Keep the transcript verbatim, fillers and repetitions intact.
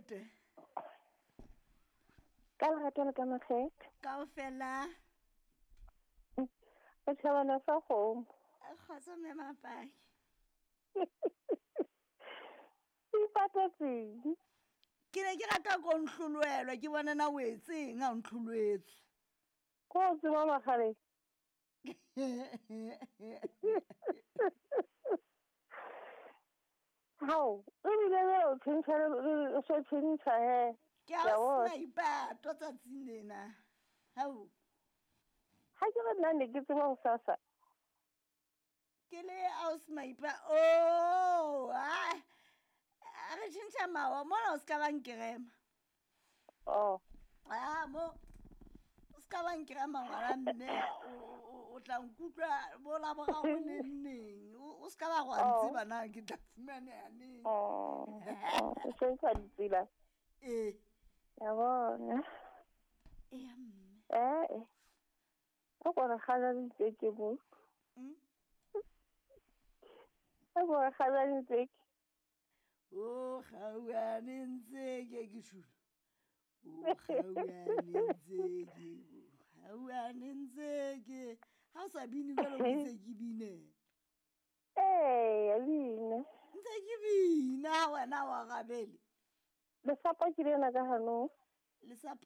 Nnete. Ka lerato le ka makgethe. Kaofela. O tjhabana sa kgomo. Kgotso mme Mapaki. Ipatetseng. Ke ne ke rata ko nhloloelwa ke bona na o etseng ha o ntlholoetswe. Ko o tseba makgaleng. Hao, ebile le o tjhentjha le o so tjhentjha he. Ke a o sena ipato tsatsing lena. Hao. Ha ke re nna ne ke tseba ho sasa. Ke le aus maipa. Oh, ah. Re tjhentjha mawa mona o ska ba nkerema. Oh. Ah, mo o ska ba nkerema ngwana mme o tla nkutlwa bo la boraro neng neng. O ska ba go ntseba na ke tla fumaneha neng. Oh. O tjhentjha ditsela. Eh. Ya bona. Eh mme. Eh. O kgona kgala ditseke mo. Mm. O kgona kgala ditseke. O gauane ntse ke ke shula. O gauane ntse ke gauane ntse ke ha o sa bine jwalo ke ntse ke bine. Eh, bine. Ntse ke bina wena wa rabele. Lesapo ke lena ka hanong. Lesapo?